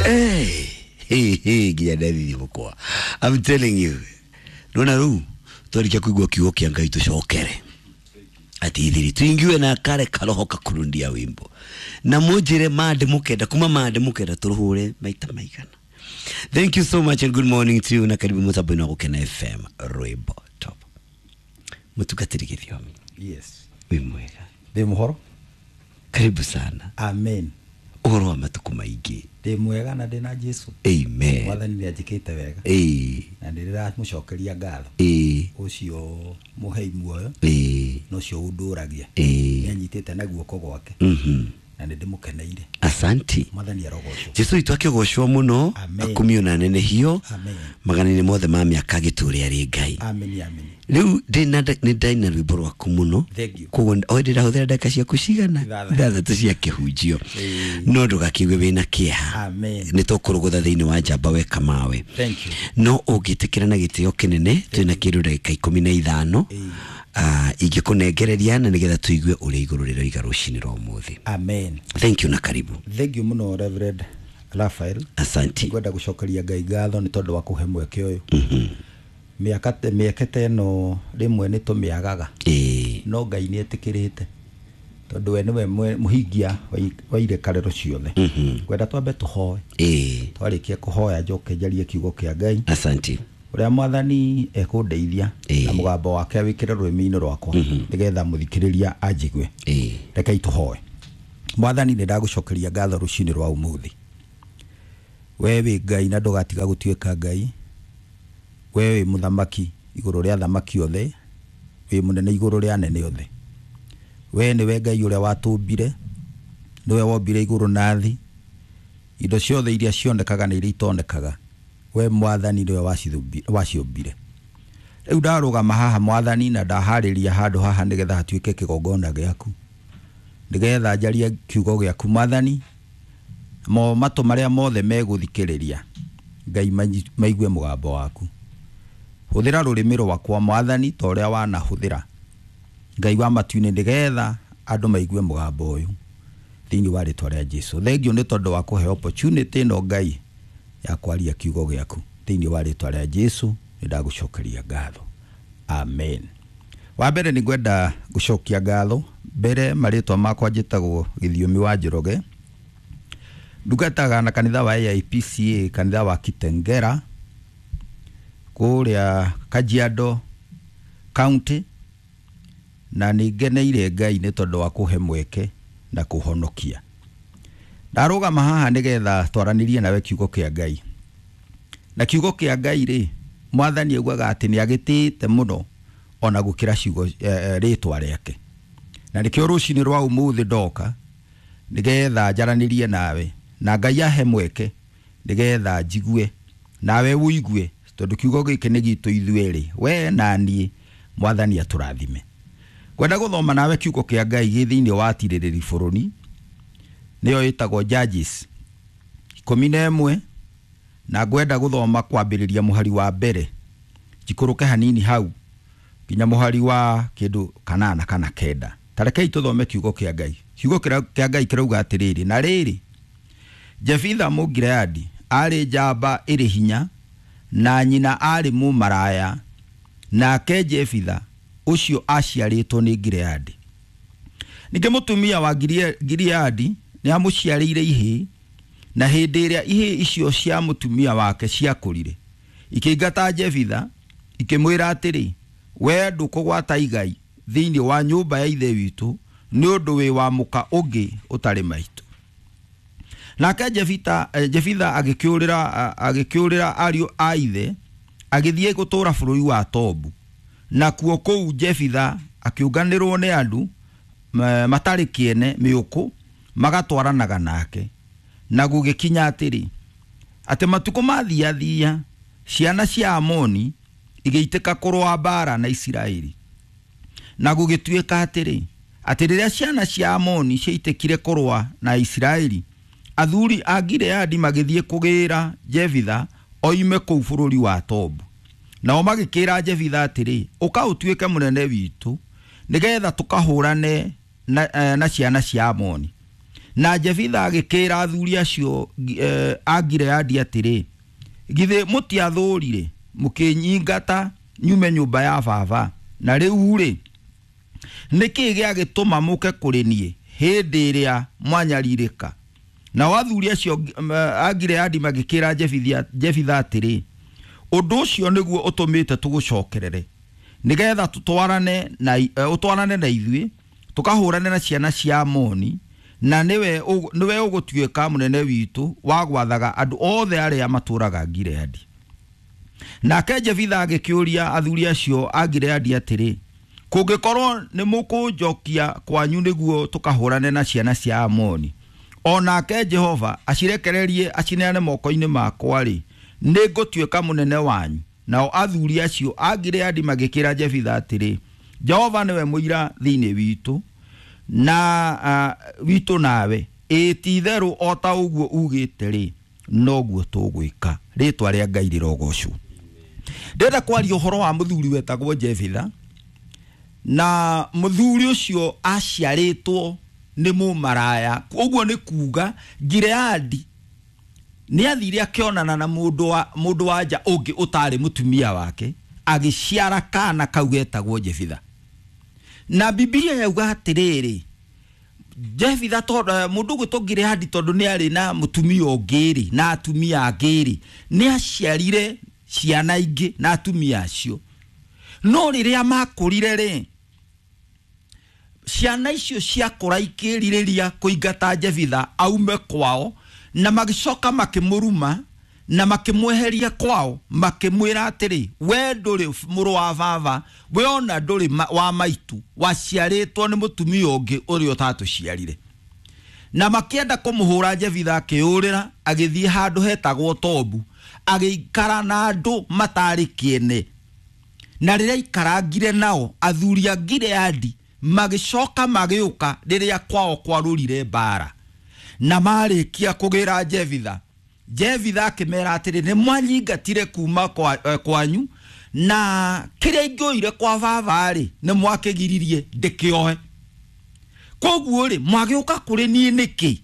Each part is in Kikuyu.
Hey, hey, hey, nginya ndathithi mũkwa. I'm telling you. Nona rĩu twarikia kuigua kiugo kĩa Ngai tũcokere ati ithiri tuingiwe na kare karoho kakurundia wimbo na munjire mande mukenda kuma mande mukenda turuhure maita maigana. Thank you so much and good morning to you na karibu mutambo-inĩ wa Gũkena FM rwimbo top mutungatĩri Gĩthiomi. Yes. Wĩ mwega? Ndĩ mũhoro. Karibu sana. Amen. Ũhoro wa matukũ maingĩ? Ndĩ mwega na ndĩ na Jesu. Amen. Mwathani nĩ anjĩkĩte wega. Ĩĩ. Na nĩ ndĩramũcokeria ngatho. Ĩĩ. Ũcio mũhei muoyo. Ĩĩ. Na ũcio ũndũragia. Ĩĩ. Nĩ anyitĩte na guoko gwake. Na nĩ ndĩmũkeneire. Asanti. Mwathani arogocwo. Jesu witũ akĩgocwo mũno. Amen. Akumio na nenehio. Amen. Magana-inĩ mothe ma mĩaka agĩtũũre arĩ Ngai. Amen, amen. Rĩu nĩ ndaina rwĩmbo rwaku mũno. Thank you. Koguo o ndĩrahũthĩra ndagĩka ciaku cigana? Ithathatũ. Ithathatũ cia kĩhunjio. Ĩĩ. No ndũgakĩigue wĩna kĩeha. Amen. Nĩ tũkũrũgũtha thĩinĩ wa njamba weka mawe. Thank you. No ũngĩtĩkĩra na gĩtĩo kĩnene twĩna kĩndũ ndagĩka 15. Ĩĩ. Ingĩkũnengereria na nĩgetha tũigue ũrĩa igũrũ rĩroiga rũcinĩ rwa ũmũthĩ. Amen. Thank you na karibu. Thank you mũno Reverend Raphael. Asanti. Ngwenda gũcokeria Ngai ngatho nĩ tondũ wa kũhe mweke ũyũ. Mĩaka ta ĩno rĩmwe nĩ tũmĩagaga. Ĩĩ. No Ngai nĩ etĩkĩrĩte tondũ we nĩwe mũhingia wa irekarĩro ciothe. Ngwenda twambe tũhoe. Ĩĩ. Twarĩkia kũhoya njoke njarie kiugo kĩa Ngai. Asanti. Ũrĩa Mwathani ekũndeithia Ĩĩ. na mũgambo wake awĩkĩre rũrĩmĩ-inĩ rwakwa nĩgetha mũthikĩrĩria anjigue. Ĩĩ. Rekei tũhoe. Mwathani nĩ ndagũcokeria ngatho rũcinĩ rwa ũmũthĩ. We wĩ Ngai na ndũgatiga gũtuĩka Ngai. We wĩ mũthamaki igũrũ rĩa athamaki othe, wĩ mũnene igũrũ rĩa anene othe. We nĩwe Ngai ũrĩa watũmbire, nĩwe wombire igũrũ na thĩ, indo ciothe iria cionekaga na iria itonekaga. We Mwathani nĩwe waciũmbire. Rĩu ndarũgama haha Mwathani na ndaharĩria handũ haha nĩgetha hatuĩke kĩgongona gĩaku, nĩgetha njarie kiugo gĩaku Mwathani, mo matũ marĩa mothe megũthikĩrĩria Ngai maigue mũgambo waku. Hũthĩra rũrĩmĩ rwakwa Mwathani ta ũrĩa wanahũthĩra Ngai wa matu-inĩ nĩgetha andũ maigue mũgambo ũyũ thĩinĩ wa rĩtwa rĩa Jesu. Thengiũ nĩ tondũ wa kũhe opportunity ĩno Ngai ya kwaria kiugo gĩaku thĩinĩ wa rĩtwa rĩa Jesu nĩ ndagũcokeria ngatho. Amen. Wa mbere nĩ ngwenda gũcokia ngatho mbere marĩtwa makwa njĩtagwo Gĩthiomi wa Njoroge. Ndungataga na kanitha wa AIPCA, kanitha wa Kitengera kũrĩa Kajiado County, na nĩ ngeneire Ngai nĩ tondũ wa kũhe mweke na kũhonokia. Ndarũgama haha nĩgetha twaranĩrie nawe kiugo kĩa Ngai. Na kiugo kĩa Ngai rĩ, Mwathani augaga atĩ nĩ agĩtĩĩte mũno ona gũkĩra ciugo rĩtwa rĩake. Na nĩkĩo rũcinĩ rwa ũmũthĩ ndoka nĩgetha njaranĩrie nawe na Ngai ahe mweke nĩgetha njigue nawe ũigue, tondũ kiugo gĩkĩ nĩ gitũ ithuerĩ, we na niĩ. Mwathani atũrathime. Ngwenda gũthoma nawe kiugo kĩa Ngai gĩ thĩinĩ wa Atirĩrĩri bũrũri, nĩyo ĩtagwo Judges 11, na ngwenda gũthoma kwambĩrĩria mũhari wa mbere njikũrũke hanini hau nginya mũhari wa kĩndũ 8 kana 9. Ta rekei tũthome kiugo kĩa Ngai. Kiugo kĩa Ngai kĩrauga atĩrĩrĩ, na rĩrĩ, Jefitha Mũgileadi arĩ njamba ĩrĩ hinya na nyina arĩ mũmaraya, nake Jefitha ũcio aciarĩtwo nĩ Gileadi. Ningĩ mũtumia wa Gileadi nĩ amũciarĩire ihĩĩ, na hĩndĩ ĩrĩa ihĩĩ icio cia mũtumia wake ciakũrire, ikĩingata Jefitha ikĩmwĩra atĩrĩ, we ndũkũgwata igai thĩinĩ wa nyũmba ya ithe witũ nĩ ũndũ wĩ wa mũka ũngĩ ũtarĩ maitũ. Nake Jefitha agĩkĩũrĩra ariũ a ithe agĩthiĩ gũtũũra bũrũri wa Tobu. Nakuo kũu Jefitha akĩũnganĩrwo nĩ andũ matarĩ kĩene mĩũkũ magatwaranaga nake. Na gũgĩkinya atĩrĩ, atĩ matukũ mathiathia ciana cia Amoni igĩitĩka kũrũa mbaara na Isiraeli. Na gũgĩtuĩka atĩrĩ, atĩ rĩrĩa ciana cia Amoni ciaitĩkire kũrũa na Isiraeli, athuri a Gileadi magĩthiĩ kũgĩra Jefitha oime kũu bũrũri wa Tobu. Nao magĩkĩra Jefitha atĩrĩ, ũka ũtuĩke mũnene witũ nĩgetha tũkahũrane na ciana cia Amoni. Na Jefitha agĩkĩra athuri acio a Gileadi atĩrĩ, githĩ mũtiathũrire mũkĩnyingata nyume nyũmba ya baba? Na rĩu rĩ, nĩkĩ gĩagĩtũma mũke kũrĩ niĩ hĩndĩ ĩrĩa mwanyarirĩka? Nao athuri acio a Gileadi magĩkĩra Jefitha atĩrĩ, ũndũ ũcio nĩguo ũtũmĩte tũgũcokerere, nĩgetha ũtwarane na ithuĩ tũkahũrane na ciana cia Amoni, na nĩwe ũgũtuĩka mũnene witũ wa gwathaga andũ othe arĩa matũũraga Gileadi. Nake Jefitha agĩkĩũria athuri acio a Gileadi atĩrĩ, kũngĩkorwo nĩ mũkũnjokia kwanyu nĩguo tũkahũrane na ciana cia Amoni, o nake Jehova acirekererie acineane moko-inĩ makwa-rĩ, nĩ ngũtuĩka mũnene wanyu. Nao athuri acio a Gileadi magĩkĩra Jefitha atĩrĩ, Jehova nĩwe mũira thĩinĩ witũ na witũ nawe, ĩ ti-itherũ o ta ũguo ugĩte rĩ, noguo tũgwĩka. Rĩtwa rĩa Ngai rĩrogocwo. Ndĩrenda kwaria ũhoro wa mũthuri wetagwo Jefitha, na mũthuri ũcio aciarĩtwo nĩ mũmaraya. Ũguo nĩ kuga Gileadi nĩ athire akĩonana na mũndũ wa nja ũngĩ ũtarĩ mũtumia wake, agĩciara kana kau getagwo Jefitha. Na Bibilia yauga atĩrĩrĩ, Jefitha tondũ mũndũ ũgwĩtwo Gileadi tondũ nĩ arĩ na mũtumia ũngĩ rĩ, na atumia angĩ rĩ, nĩ aciarire ciana ingĩ na atumia acio. No rĩrĩa makũrire rĩ, ciana icio ciakũra ikĩrirĩria kũingata Jefitha aume kwao, na magĩcoka makĩmũruma na makĩmweheria kwao, makĩmwĩra atĩrĩ, we ndũrĩ mũrũ wa baba, we ona ndũrĩ wa maitu, waciarĩtwo nĩ mũtumia ũngĩ ũrĩa ũtatũciarire. Na makĩenda kũmũhũra Jefitha akĩũrĩra, agĩthiĩ handũ hetagwo Tobu, agĩikara na andũ matarĩ kĩene. Na rĩrĩa aikarangire nao, athuri a Gileadi magĩcoka magĩũka rĩrĩa kwao kwarũrire mbara. Na marĩkia kũgĩra Jefitha, Jefitha akĩmera atĩrĩ, nĩ mwanyingatire kuma kwanyu, na kĩrĩa ingĩoire kwa baba rĩ, nĩ mwakĩgiririe ndĩkĩoe. Koguo rĩ, mwagĩũka kũrĩ niĩ nĩkĩ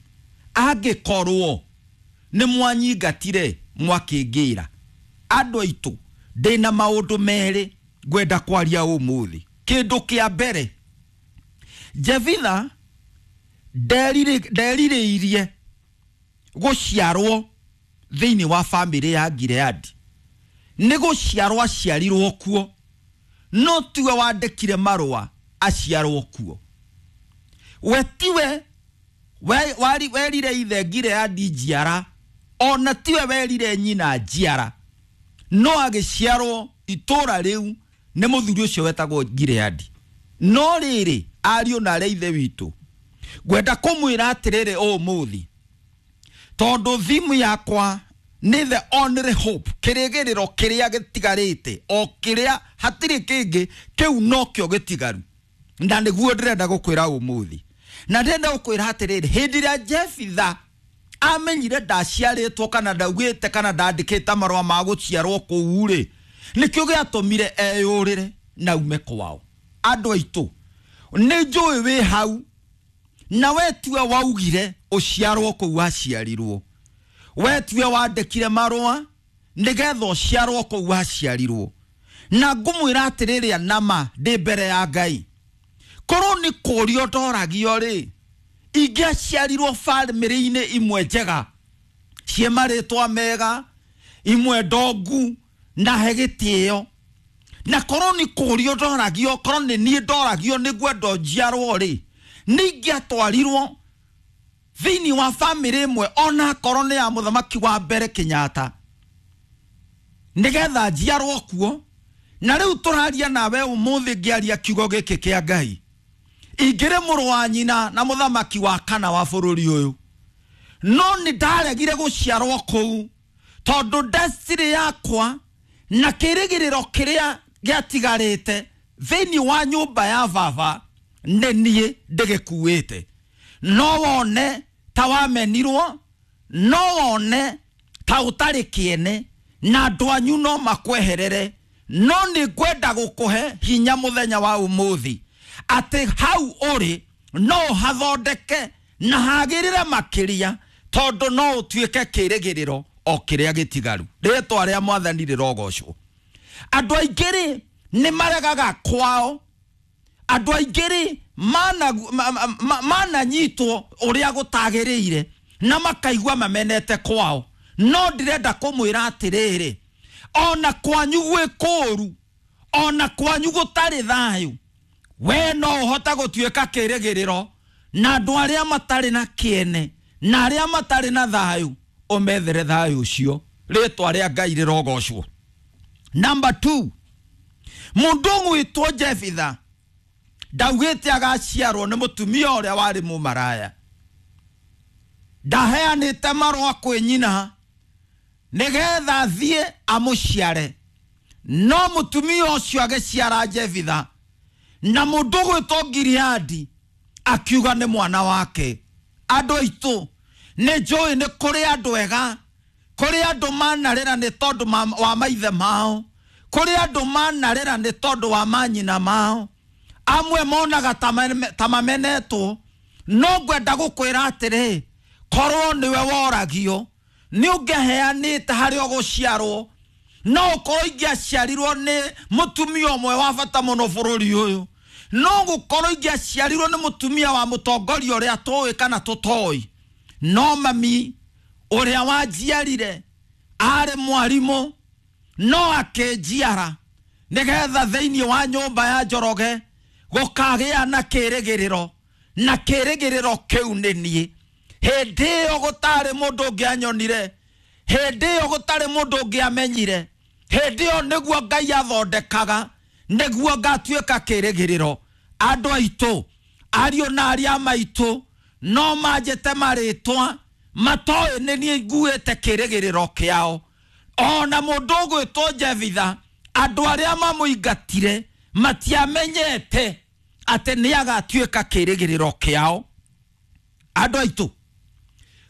angĩkorwo nĩ mwanyingatire mwakĩngĩra? Andũ aitũ, ndĩna maũndũ merĩ ngwenda kwaria ũmũthĩ. Kĩndũ kĩa mbere, Jefitha nderirĩirie gũciarwo thĩinĩ wa bamĩrĩ ya Gileadi. Nĩ gũciarwo aciarirwo kuo, no tiwe wandĩkire marũa aciarwo kuo. We tiwe werire ithe Gileadi njiara, ona tiwe werire nyina njiara, no agĩciarwo itũra rĩu nĩ mũthuri ũcio wetagwo Gileadi. No rĩrĩ, ariũ na arĩa ithe witũ, ngwenda kũmwĩra atĩrĩrĩ ũmũthĩ, tondũ thimu yakwa nĩ the only hope, kĩrĩgĩrĩro kĩrĩa gĩtigarĩte, o kĩrĩa hatirĩ kĩngĩ, kĩu nokĩo gĩtigaru. Na nĩguo ndĩrenda gũkwĩra ũmũthĩ. Na ndĩrenda gũkwĩra atĩrĩrĩ, hĩndĩ ĩrĩa Jefitha amenyire ndaciarĩtwo kana ndaugĩte kana ndandĩkĩte marũa ma gũciarwo kũu rĩ, nĩkĩo gĩatũmire eyũrĩre na ume kwao. Andũ aitũ, nĩ njũĩ wĩ hau, na we tiwe waugire ũciarwo kũu waciarirwo, we tiwe wandĩkire marũa nĩgetha ũciarwo kũu waciarirwo. Na ngũmwĩra atĩrĩrĩ, nama ndĩ mbere ya Ngai, korwo nĩ kũũrio ndoragio rĩ, ingĩaciarirwo bamĩrĩ-inĩ imwe njega, ciĩ marĩtwa mega, imwe ndongu na he gĩtĩo. Na korwo nĩ kũũrio ndoragio, korwo nĩ niĩ ndoragio nĩngwenda njiarwo rĩ, nĩingĩatwarirwo thĩinĩ wa bamĩrĩ ĩmwe, ona korwo nĩ ya mũthamaki wa mbere Kenyatta, nĩgetha njiarwo kuo. Na rĩu tũraria nawe ũmũthĩ ngĩaria kiugo gĩkĩ kĩa Ngai, ingĩrĩ mũrũ wa nyina na mũthamaki wa kana wa bũrũri ũyũ, no nĩ ndaregire gũciarwo kũu tondũ destiny yakwa na kĩrĩgĩrĩro kĩrĩa gĩatigarĩte thĩinĩ wa nyũmba ya baba nĩ niĩ ndĩgĩkuĩte. No wone ta wamenirwo, no wone ta ũtarĩ kĩene, na andũ anyu no makweherere, no nĩ ngwenda gũkũhe hinya mũthenya wa ũmũthĩ atĩ hau ũrĩ no hathondeke Na hagĩrĩre makĩria tondũ no ũtuĩke kĩrĩgĩrĩro o kĩrĩa gĩtigaru. Rĩtwa rĩa Mwathani rĩrogocwo. Andũ aingĩ rĩ nĩ maregaga kwao. Andũ aingĩ rĩ mananyitwo ũrĩa gũtagĩrĩire na makaigua mamenete kwao. No ndĩrenda kũmwĩra atĩrĩrĩ, ona kwanyu gwĩ kũũru, ona kwanyu gũtarĩ thayũ, we no ũhote gũtuĩka kĩrĩgĩrĩro na andũ arĩa matarĩ na kĩene na arĩa matarĩ na thayũ ũmethere thayũ ũcio. Rĩtwa rĩa Ngai rĩrogocwo. Number 2, mũndũ ũgwĩtwo Jefitha ndaugĩte agaciarwo nĩ mũtumia ũrĩa warĩ mũmaraya. Ndaheanĩte marũa kwĩ nyina nĩgetha athiĩ amũciare, no mũtumia ũcio agĩciara Jefitha, na mũndũ ũgwĩtwo Gileadi akiuga nĩ mwana wake. Andũ aitũ, nĩ njũĩ nĩ kũrĩ andũ ega, kũrĩ andũ manarĩra nĩ tondũ wa maithe mao, kũrĩ andũ manarĩra nĩ tondũ wa manyina mao. Amwe monaga ta mamenetwo, no ngwenda gũkwĩra atĩrĩ, korwo nĩwe woragio nĩ ũngĩheanĩte harĩa ũgũciarwo. No ũkorwo ingĩaciarirwo nĩ mũtumia ũmwe wa bata mũno bũrũri ũyũ, no gũkorwo ingĩaciarirwo nĩ mũtumia wa mũtongoria ũrĩa tũĩ kana tũtoĩ, no mami ũrĩa wanjiarire arĩ mwarimũ no akĩnjiara nĩgetha thĩinĩ wa nyũmba ya Njoroge gũkagĩa na kĩrĩgĩrĩro, na kĩrĩgĩrĩro kĩu nĩ niĩ. Hĩndĩ ĩyo gũtarĩ mũndũ ũngĩanyonire, hĩndĩ ĩyo gũtarĩ mũndũ ũngĩamenyire, hĩndĩ ĩyo nĩguo Ngai athondekaga nĩguo ngatuĩka kĩrĩgĩrĩro. Andũ aitũ, ariũ na arĩa maitũ no manjĩte marĩtwa matoĩ nĩ niĩ nguĩte kĩrĩgĩrĩro kĩao. Ona mũndũ ũgwĩtwo Jefitha, andũ arĩa mamũingatire matiamenyete atĩ nĩ agatuĩka kĩrĩgĩrĩro kĩao. Andũ aitũ,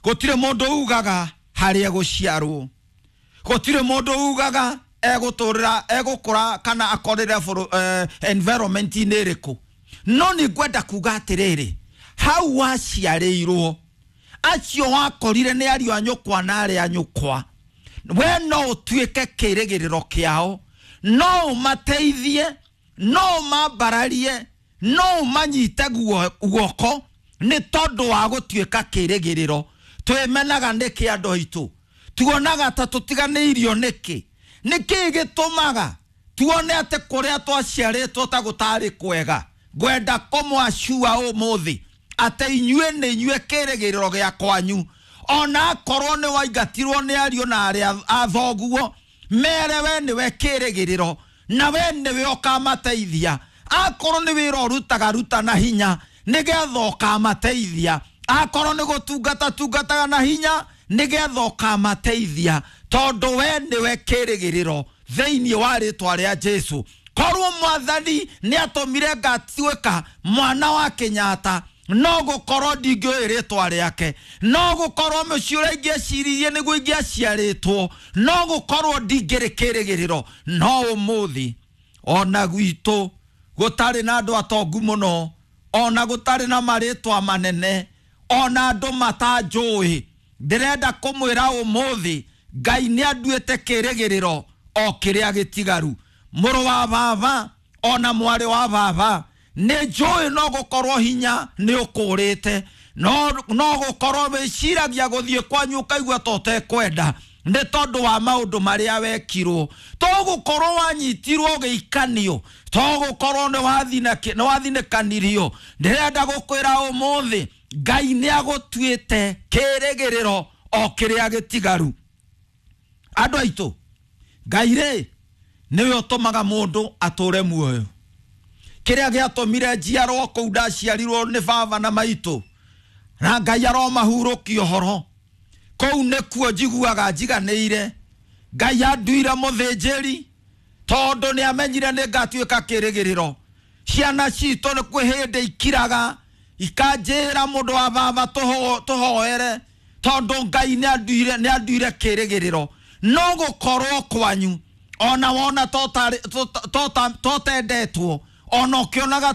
gũtirĩ mũndũ ugaga harĩa egũciarwo, gũtirĩ mũndũ ugaga egũtũrĩra, egũkũra kana akorĩre environment-inĩ ĩrĩkũ. No nĩ ngwenda kuga atĩrĩrĩ, hau waciarĩirwo acio wakorire nĩ ariũ a nyũkwa na arĩa a nyũkwa, we no ũtuĩke kĩrĩgĩrĩro kĩao, no ũmateithie, no ũmambararie, no ũmanyite guoko nĩ tondũ wa gũtuĩka kĩrĩgĩrĩro. Twĩmenaga nĩkĩ andũ aitũ? Tuonaga ta tũtiganĩirio nĩkĩ? Nĩkĩ gĩtũmaga tuone atĩ kũrĩa twaciarĩtwo ta gũtarĩ kwega? Ngwenda kũmwacua ũmũthĩ atĩ inyuĩ nĩ inyuĩ kĩrĩgĩrĩro gĩa kwanyu. Ona akorwo nĩ waingatirwo nĩ ariũ na arĩa a thoguo, mere we nĩwe kĩrĩgĩrĩro na we nĩwe ũkamateithia. Akorwo nĩ wĩra ũrutaga ruta na hinya nĩgetha ũkamateithia. Akorwo nĩ gũtungata tungataga na hinya nĩgetha ũkamateithia, tondũ we nĩwe kĩrĩgĩrĩro thĩinĩ wa rĩtwa rĩa Jesũ. Korwo Mwathani nĩ atũmire ngatuĩka mwana wa Kenyatta, no gũkorwo ndingĩũĩ rĩtwa rĩake, no gũkorwo mũciĩ ũrĩa ingĩeciririe nĩguo ingĩaciarĩtwo, no gũkorwo ndingĩrĩ kĩrĩgĩrĩro. No ũmũthĩ ona gwitũ gũtarĩ na andũ atongu mũno, ona gũtarĩ na marĩtwa manene, ona andũ matanjũĩ, ndĩrenda kũmwĩra ũmũthĩ Ngai nĩ anduĩte kĩrĩgĩrĩro o kĩrĩa gĩtigaru. Mũrũ wa baba ona mwarĩ wa baba, nĩ njũĩ no gũkorwo hinya nĩ ũkũrĩte, no gũkorwo wĩciragia gũthiĩ kwanyu ũkaigua ta ũtekwenda nĩ tondũ wa maũndũ marĩa wekirwo, to gũkorwo wanyitirwo ũgĩikanio, to gũkorwo nĩ wathinĩkanirio. Ndĩrenda gũkwĩra ũmũthĩ Ngai nĩ agũtuĩte kĩrĩgĩrĩro o kĩrĩa gĩtigaru. Andũ aitũ, Ngai rĩ nĩwe ũtũmaga mũndũ atũre muoyo. Kĩrĩa gĩatũmire njiarwo kũu ndaciarirwo nĩ baba na maitũ, na Ngai aromahurũkia ũhoro, kũu nĩkuo njiguaga njiganĩire. Ngai anduire mũthĩnjĩri tondũ nĩ amenyire nĩ ngatuĩka kĩrĩgĩrĩro. Ciana citũ nĩ kwĩ hĩndĩ ikiraga ikanjĩra mũndũ wa baba tũhoere, tondũ Ngai nĩ anduire kĩrĩgĩrĩro. No gũkorwo kwanyu ona wona totendetwo, ona ũkĩonaga